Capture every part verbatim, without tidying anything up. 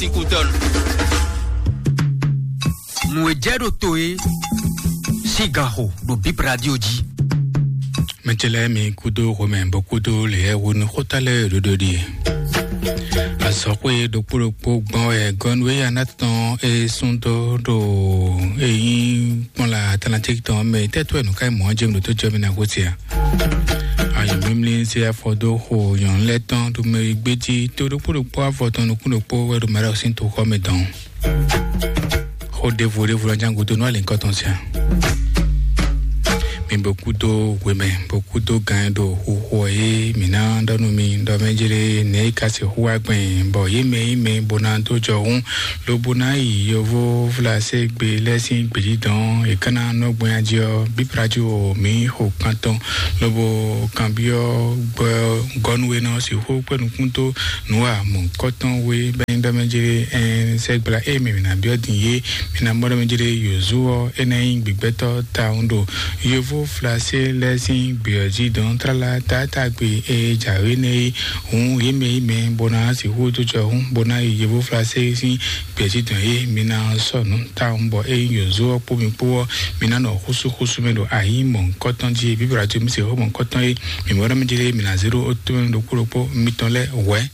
Tikutɔn. Nǔ e jɛ ɖo to é, sín ganxo ɖo Bip Radio jí. Mɛtɛlɛ mi kúdó Romɛ bó kúdó lě wónú xóta lɛ́ɛ ɖoɖo ɖi. Azɔxwé ɖokpó ɖokpó gbɔn wɛ gɔnu e ana tɔn e sún dó ɖo eyín kpɔn la Atlantique tɔn mɛ tɛ́tɔ́ ɛ nǔ ká mɔ̌ jɛ mi ɖo tó jɔ mi ná gosí a? Ayǐ mímlí se afɔ dó xo nyɔ̌nu lɛ́ɛ tɔn ɖo mɛ gbéjí tó ɖokpó ɖokpó afɔ tɔn nukún ɖokpó wɛ ɖo mɛ ɖɔ sín toxɔ mɛ dɔn. Xó ɖěvo ɖěvo lɔ ján gúdo nú alǐnkɔ tɔn sian. Mi bó kúdó hwemɛ bó kúdó gán ɖo xuxu ɔ́ é mǐ ná ɖɔ nú mi ɖɔ mɛ jlé nɛ̌ é ka sixú wá gbɛn bɔ yě mɛ yí mɛ bó ná dó jɔ hún lobo ná yi yovó Flaségbé lɛ́ɛ sín gbějǐdɔn è ká ná nɔ gbɛn ají ɔ́ bíbrajú o mǐ xo kan tɔn lobo kanbyɔ́ gbɔ gɔ́nú e nɔ sixú kpé nukún dó nǔ wa mɔ̌hunkɔtɔn we bɛ́ nyí ɖɔ mɛ jlé ɛn sɛgbla e mǐ mǐ ná byɔ́ din é mǐ ná mɔ ɖɔ mɛ jlé yǒzo ɔ́ é ná nyí gbigbɛtɔ́ tawun ɖo yovó Flasé lɛ́ɛ sín gbě ɔ́ jí dɔn tlala taatagbe e jǎwe nɛ́ é hǔn yě mɛ yí mɛ bó ná sixú dó jɔ hún bó ná yi yovó Flasé sín gbějǐdɔn e mi ná sɔ́ nǔ tawun bɔ ényí yǒzo ɔ́ kpó mi kpó ɔ́ mi ná nɔ xúsúxúsú mɛ ɖo ayǐ mɔ̌hunkɔtɔn jí bíbélà jí mi se xó mɔ̌hunkɔtɔn e mi mɔ ɖɔ mi jlé mi ná zé ɖó ó tómɛ ɖokpó ɖokpó mitɔn lɛ́ɛ hwɛ̌.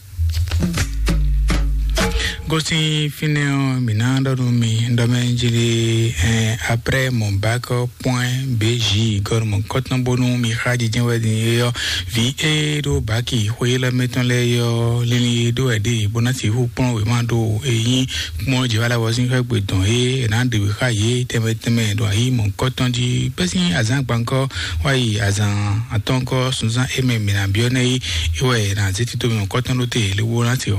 Gosin fínɛ́ ɔ́ mi ná ɖɔ nú mi ɖɔ mɛ jlé ɛn après mon bac point B J gɔnu mɔ̌hunkɔtɔn bónú mi xá jijɛ wɛ din é ɔ́ vǐ e ɖó baki xwé lɛ́ɛ mɛ tɔn lɛ́ɛ é ɔ́ linlin e ɖó wɛ ɖe bó ná sixú kplɔ́n wěma ɖo e nyí kpɔ́n Jihova lɛ́ɛ ɔ́ sín xwé gbe dɔn é è nǎ ɖe wě xá yě tɛnmɛ tɛnmɛ ɖo ayǐ mɔ̌hunkɔtɔn jí bɛ́ sín azǎn gbankɔ́ wá yi azǎn atɔ́nkɔ́ sunzán é mɛ mǐ ná byɔ́ nɛ́ é é wɛ è nǎ zé tito mɔ̌hunkɔtɔn ɖó te lobo ná sixú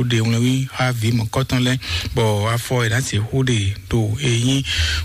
ɖe wlɛ́nwí xá vǐ mɔ̌hunkɔtɔn lɛ́ɛ bɔ afɔ è nǎ sixú ɖe ɖo e nyí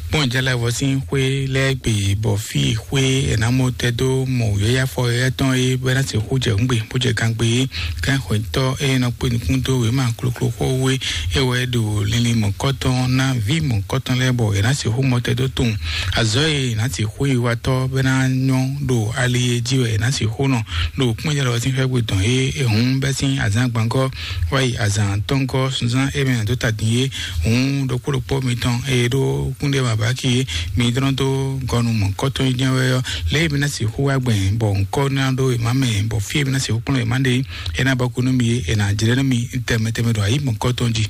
kpɔ́njálɛvɔ sín xwé lɛ́ɛ gbe bɔ fí xwé è nǎ mɔ tɛ́ dó mɔ wǔyɔ́yá afɔ éyɛ́ tɔn é bɔ é ná sixú jɛ hǔngbe bó jɛ gangbe é. Kɛ́nxwɛtɔ́ e nɔ kpé nukún dó wěma kloklo xó wé é wɛ ɖo linlin mɔ̌kɔtɔn ná vǐ mɔ̌kɔtɔn lɛ́ɛ bɔ è nǎ sixú mɔ tɛ́ dó tunwun azɔ̌ e è nǎ sixú yi watɔ́ bɔ é ná nyɔ́ ɖo ali e jí wɛ è nǎ sixú nɔ ɖo kpɔ́njálɛvɔ sín xwé gbe tɔn é é hǔn bɛ́ sín azǎn gbangɔ́ wá yi azǎn atɔ́ngɔ́ sunzán e mɛ dó ta din é hǔn ɖokpó ɖokpó mitɔn e ɖó kúnɖé mabáki é mi dlɔ́n dó gɔnu mɔ̌kɔtɔn jɛ́n wɛ ɔ́ lě e mi ná sixú wá gbɛn bɔ ŋkɔ́ ná ɖó è má mɛ bɔ fí e mi ná sixú kplɔ́n è má ɖe é ná bɔ kú nú mi é è nǎ jlɛ́ nú mi tɛnmɛ tɛnmɛ ɖo ayǐ mɔ̌kɔtɔn jí.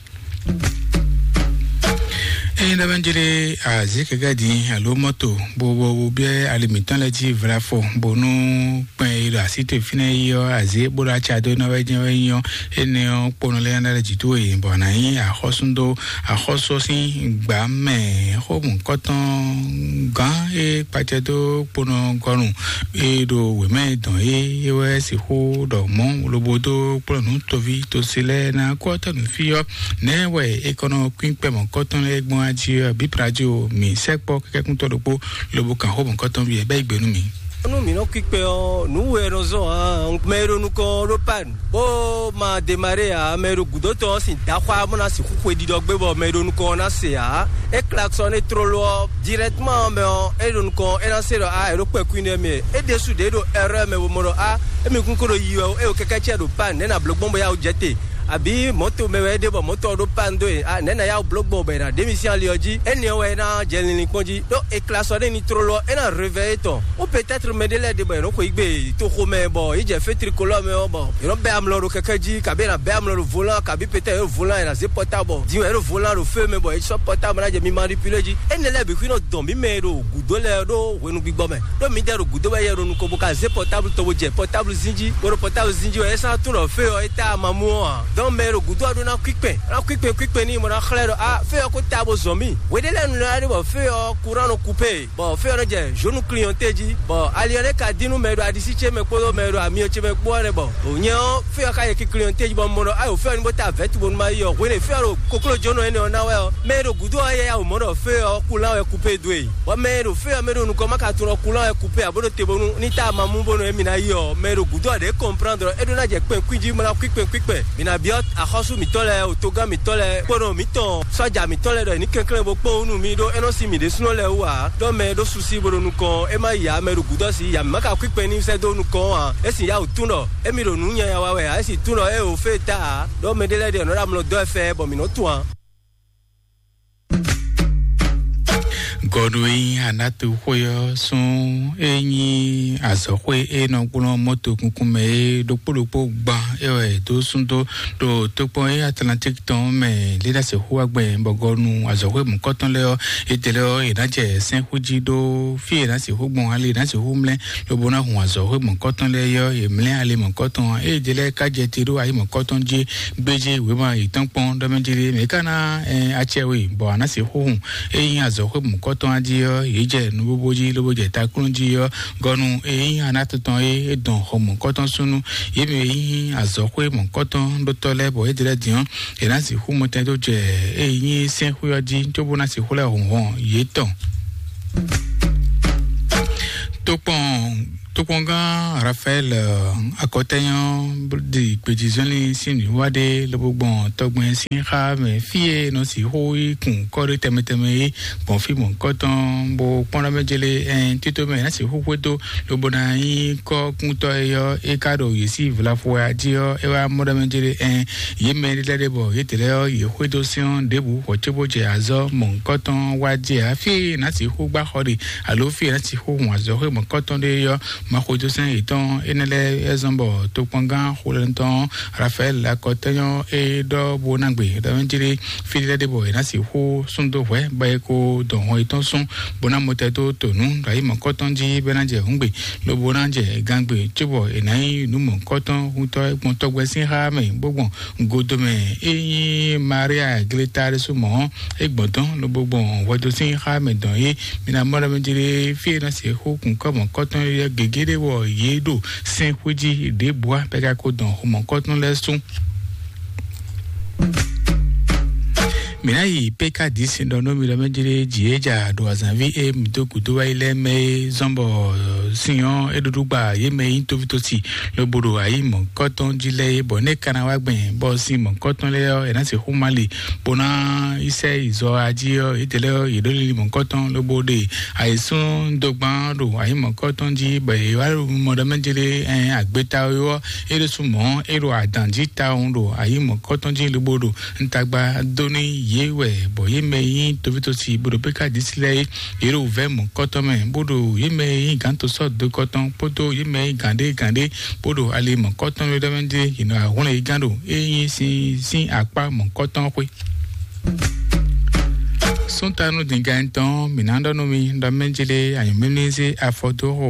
Eye ɖɔ bɛ jere azikɛkɛ din alo mɔto bo bo bo biɛ ali mitɔn lɛ ji vlafo bonu kpɛn yi ɖo asi to fínɛ yi ɔ azi bó ɖo atsa dó na wɛ jɛ wɛ yi ɔ ene ɔ kponɔ lɛ na lɛ jitu yi bɔ na yi axɔsu do axɔsu sin gba mɛ xɔmu kɔtɔn gan e kpatsɛ dó kponɔ gɔnu e ɖo wɛmɛ dɔn e e wɛ sixu ɖɔ mɔ lobo dó kplɔnu tovi tosi lɛ na kɔ tɔnu fi ɔ nɛ wɛ e kɔnɔ kpín kpɛmɔ kɔtɔn lɛ gbɔn adzi ɔ bipladzo mi sɛkpɔ kɛkɛkuntɔ ɖokpo lobo kan xɔmu kɔtɔn vi ɛ bɛ yi gbenu mi. Nú mǐ nɔ kpíkpɛ ɔ́, nǔ we nɔ zɔn ǎ. Mɛ e ɖo nukɔn ɔ́ ɖó pan, bó ma demaré ǎ. Mɛ e ɖo gǔdo tɔn ɔ́ sin daxwá bó ná sixú xwe ɖiɖɔ gbé bɔ mɛ e ɖo nukɔn ɔ́ ná se ǎ. É klaxɔ́n é tlóló ɔ́, directement mɛ ɔ́, é ɖo nukɔn ɔ́, é ná se ɖɔ a è ɖo kpɛkú nɛ́ mɛ. É ɖésú ɖě ɖo erreur mɛ bo mɔ ɖɔ a émi kún ko ɖo yi wɛ o, é ɖo kɛkɛ́ cɛ ɖo pan, nɛ̌ ná bló gbɔn bɔ yá wǔ jɛ te? Àbí mɔ̌to mɛ wɛ é ɖe bɔ mɔ̌to ɔ́ ɖó pan dó e? A nɛ̌ ná yá wǔ bló gbɔn bɔ è nǎ ɖe mì sín ali ɔ́ jí? Énɛ́ ɔ́ wɛ é ná jɛ linlin kpɔ́n jí. Ɖó è kla sɔ n'i tlóló ɔ́, é ná réveillé tɔn. Ou peut-être mɛ ɖé lɛ́ɛ ɖe bɔ è nɔ xweyǐgbe toxo mɛ bɔ yě jɛ fé tricolore mɛ ɔ́, bɔ è nɔ bɛ́ amlɔ ɖo kɛkɛ́ jí, kabi è nǎ bɛ́ amlɔ ɖo volant, kabi peut-être è ɖo volant è nǎ zé portable bɔ din wɛ è ɖo volant ɖo fé mɛ bɔ è sɔ́ portable ná jɛ mi manipulé jí. Énɛ́ lɛ́ɛ bǐ xwí nɔ dɔn mǐ mɛ e ɖo gǔdo lɛ́ɛ ɖó hwenu gbigbɔ mɛ. Ɖó mǐdɛɛ ɖo gǔdo wɛ yɛ ɖo nukɔn bó ka zé portable tɔn bó jɛ portable zín jí, bó ɖo portable zín jí wɛ é sɔ́ ná tunwun ɖɔ fé ɔ́ é tá ama mú ɔ́ ǎ. Donc mɛ e ɖo gǔdo ɔ́ ɖó ná kú ikpɛn, ná kú ikpɛn kú ikpɛn n'i bó ná xlɛ́ ɖɔ a fé ɔ́ ko tá bó zɔn mì. Hweɖé lɛ́ɛ nu lɛ́ɛ ɖe bɔ fé ɔ́ courant nɔ coupé, bɔ fé ɔ́ nɔ jɛ zǒnu clignanté jí, bɔ ali ɔ́ nɛ́ ka dín nú mɛ e ɖo aɖisí ce mɛ kpódó mɛ e ɖo amyɔ ce mɛ kpó ɔ́ nɛ bɔ nyɛ ɔ́ fé ɔ́ ka yɛ ki clignanté jí bɔ un mɔ ɖɔ ayo fé ɔ́ ní bó tá vɛ̌tu bónú má yi ɔ́. Hwenɛ́ fé ɔ́ ɖo koklójónɔ énɛ́ ɔ́ ná wɛ ɔ́, mɛ e ɖo gǔdo ɔ́ yɛ yá wǒ mɔ ɖɔ fé ɔ́ courant wɛ coupé dó e. Bɔ mɛ e ɖo fé ɔ́ mɛ ɖo nukɔn má ka tunwun ɖɔ courant wɛ coupé ǎ bó ɖo te bónú ní tá ama mú bónú émí ná yi ɔ́, mɛ e ɖo gǔdo ɔ́ ɖě comprendre ɖɔ é ɖó ná jɛ kpɛn kwín jí bó ná kwí kpɛn kwí kpɛn. Mǐ ná Byɔ́ axɔ́sú mǐtɔn lɛ́ɛ, otogán mǐtɔn lɛ́ɛ, kpónɔ mǐtɔn sɔ́ja mǐtɔn lɛ́ɛ ɖɔ è ní kɛnklɛ́n bó kpó nú mì ɖó é nɔ sín mǐ ɖésúnɔ lɛ́ɛ wú ǎ. Ɖɔ mɛ e ɖó susi bo ɖo nukɔn é má yi ǎ, mɛ e ɖo gǔdo ɔ́ sí ya mǐ má ka kwíkpɛn n'i sɛ́ dó nukɔn ɔ́ ǎ. É sin yá wǔ tún ɖɔ émí ɖo nǔ nyanya wa wɛ ǎ, é sin tún ɖɔ é o fé ta ǎ. Ɖɔ mɛɖé lɛ́ɛ ɖe nɔ ɖo amlɔ dɔ́ ɛ fɛ bɔ mǐ nɔ tunwun ǎ. Gɔnu e nyí Anatu xwe ɔ́ sún e nyí azɔ̌xwe e nɔ gblɔ́n mɔto kunkun mɛ é ɖokpó ɖokpó gban é wɛ è dó sún dó ɖo tokpɔn e Atlantique tɔn mɛ Lenace xu wá gbɛn bɔ gɔnu azɔ̌xwe mɔ̌kɔtɔn lɛ́ɛ ɔ́, étɛlɛ ɔ́, è nǎ jɛ sɛ́nxú jí ɖó fí e è nǎ sixú gbɔn ali è nǎ sixú mlɛ́ lobo ná hun azɔ̌xwe mɔ̌kɔtɔn lɛ́ɛ yɔ́, è mlɛ́ ali mɔ̌kɔtɔn ɔ́, ée jɛ lɛ́ɛ ka jɛ te ɖó ayi mɔ̌kɔtɔn jí gbéjé wěma yětɔn kpɔ́n ɖɔ mɛ jí ɖé mɛ ká ná ɛn acɛ we bɔ a nǎ sixú hun. Ényí azɔ̌xwé mɔ̌kɔtɔn á jí ɔ́, yě jɛ nubóbó jí lobo jɛ taklún jí ɔ́, gɔnu ényí a ná tɔn tɔn é, é dɔn xɔ mɔ̌kɔtɔn súnnu. Yě mɛ e nyí azɔ̌xwé mɔ̌kɔtɔn ɖótɔ́ lɛ́ɛ bɔ é jɛ lɛ́ɛ din ɔ́, è nǎ sixú mɔtɛn dó jɛ ényí sɛ́nxwé ɔ́ jí cóbó ná sixú lɛ́ hun hɔn yětɔn. Tokpɔn Tokpɔngán Rafael akɔtɛnyɔ ɖi gbejizɔnlin sín nǔwiwa ɖé lobo gbɔn tɔgbɛn sín xá mɛ fí e nɔ sixú yi kun kɔ́ɖé tɛmɛ tɛmɛ é gbɔn fí mɔ̌kɔtɔn bó kpɔ́n ɖɔ mɛ jele ɛn tito mɛ ná sixú xwedó lobo ná nyí kɔ́kúntɔ́ e ɔ́ é ka ɖo yě sí vlafo wɛ a jí ɔ́ é wá mɔ ɖɔ mɛ jele ɛn yě mɛ lɛ́ ɖe bɔ yě tɛlɛ ɔ́ yě xwedó sɛ́n ɔ́ ɖěbǔ xɔ cóbó jɛ azɔ́ mɔ̌kɔtɔn wá jɛ ǎ fí e ná sixú gbá xɔ ɖe alo fí e ná sixú hun azɔ̌ xwé mɔ̌kɔtɔn ɖé ɔ́. Maxɔjosɛn yětɔn énɛ́ lɛ́ɛ é zɔ́n bɔ tokpɔngán xolɛ́ntɔn Rafael akɔtɛnyɔ é ɖɔ bó ná gbe ɖɔ mɛ jlé fí lɛ́ɛ ɖé bɔ è nǎ sixú sún dó hwɛ̌ bɔ é kó dɔn hɔn yětɔn sún bó ná mɔtɛ dó tonu ɖo ayi mɔ̌kɔtɔn jí bɔ é ná jɛ hǔngbe lobo ná jɛ gangbe cóbɔ è nǎ nyí nǔ mɔ̌kɔtɔn húntɔ́ gbɔn tɔgbɛ sín xá mɛ bó gbɔn godomɛ é nyí Maria Gleta ɖésú mɔ̌ é gbɔn dɔn lobo gbɔn hwɛdo sín xá mɛ dɔn é. Mi ná mɔ ɖɔ mɛ jlé fí e ná se xó kun kɔ́ mɔ̌kɔtɔn yɛ gěgé ɖé wɔ yě ɖo sɛn xwé jí ɖěbǔ á bɔ é ka ko dɔn xo mɔ̌kɔtɔn lɛ́ɛ sún. Mǐ ná yi pé ká dǐ sin ɖɔ nú mi ɖɔ mɛ jlé jǐ é ja ɖo azǎnví e mǐ dó gǔdo wá yi lɛ́ɛ mɛ é zɔ́n bɔ sin ɔ́ é ɖuɖu gba yě mɛ e nyí tóvítósi lobo ɖo ayi mɔ̌kɔtɔn jí lɛ́ɛ é bɔ nɛ́ ka ná wá gbɛn bɔ sin mɔ̌kɔtɔn lɛ́ɛ ɔ́ è nǎ se xó má li bó ná yi sɛ yi zɔ ají ɔ́, yědɛɛ lɛ́ɛ ɔ́, yě ɖó lili mɔ̌kɔtɔn lobo ɖe ayǐsúndogban ɖo ayǐ mɔ̌kɔtɔn jí, bɔ yě wá ɖo mɔ ɖɔ mɛ jlé ɛn agbeta ɔ́, é ɖésú mɔ̌ é ɖo adǎn jí tawun ɖo ayǐ mɔ̌kɔtɔn jí lobo ɖo ntagba dó ní yě wɛ, bɔ yě mɛ nyí tovítɔ́si bó ɖo pé ká dǐsi lɛ́ɛ é, yě ɖo vɛ̌ mɔ̌kɔtɔn mɛ, bó ɖo yě mɛ nyí gǎn to sɔ́ do kɔtɔn kpódó yě mɛ nyí gǎn ɖé gǎn ɖé bó ɖo ali mɔ̌kɔtɔn ɖé mɛ ɖé, yě nɔ ahlɔ́n yě gán ɖo é nyí sín sín akpá mɔ̌kɔtɔn xwé. Súntanu dǐngán tɔn mǐ ná ɖɔ nú mi ɖɔ mɛ jlé anyǔmímí zé afɔ dó xo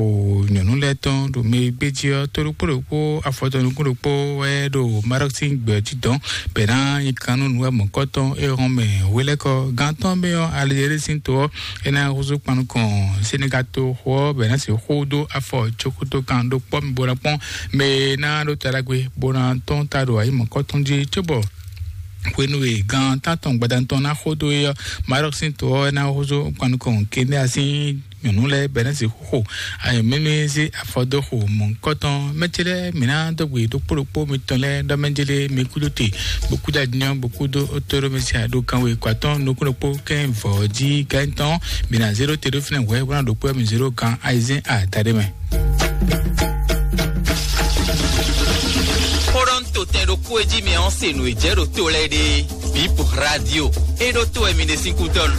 nyɔ̌nu lɛ́ɛ tɔn ɖo mɛ e gbé jí ɔ́, tó ɖokpó ɖokpó afɔ tɔn nukún ɖokpó wɛ ɖo Marɔ́k sín gbɛ jí dɔn bɛ̌ ná nyi kan nú nǔ wɛ mɔ̌kɔtɔn é hɔn mɛ hwelɛ́kɔ gán tɔn mɛ ɔ́, Alizéri sín to ɔ́, é ná húzú kpan nukɔn Senegal to xo ɔ́ bɛ̌ ná sixú dó afɔ cókútó kan ɖó kpɔ́ mi bó ná kpɔ́n mɛ e ná ɖó ta ɖagbe bó ná tɔ́n ta ɖo ayǐ mɔ̌kɔtɔn jí cóbɔ hwenu e gan tántɔn gbadanu tɔn ná xo dó é ɔ́, Marɔ́k sín to ɔ́ ná húzú kpan nukɔn Kenya sín nyɔ̌nu lɛ́ɛ bɛ́ ná sixú xo ayǐmlúmlú zé afɔ dó xo mɔ̌hunkɔtɔn. Mɛ ce lɛ́ɛ mǐ ná dó gbe ɖokpó ɖokpó mitɔn lɛ́ɛ ɖɔ mɛ jlé mi kúdó te, bó kúdó adinɔ, bó kúdó tóɖó mɛ sia ɖo kanwe kɔ atɔ́ɔ́n nukún ɖokpó kɛ́n vɔ̌ jí gán tɔn. Mǐ ná zé ɖó te ɖó fínɛ́ hwɛ̌ bó ná ɖokpó mi zé ɖó gan ayizɛ́n adaɖé mɛ. Xó ɖɔ ń to tɛn ɖokpó e jí mi ɔ́ se nǔ e jɛ ɖo to lɛ́ɛ ɖe. Bip Radio. E ɖo to wɛ mi ɖe sín kútɔ́ nu.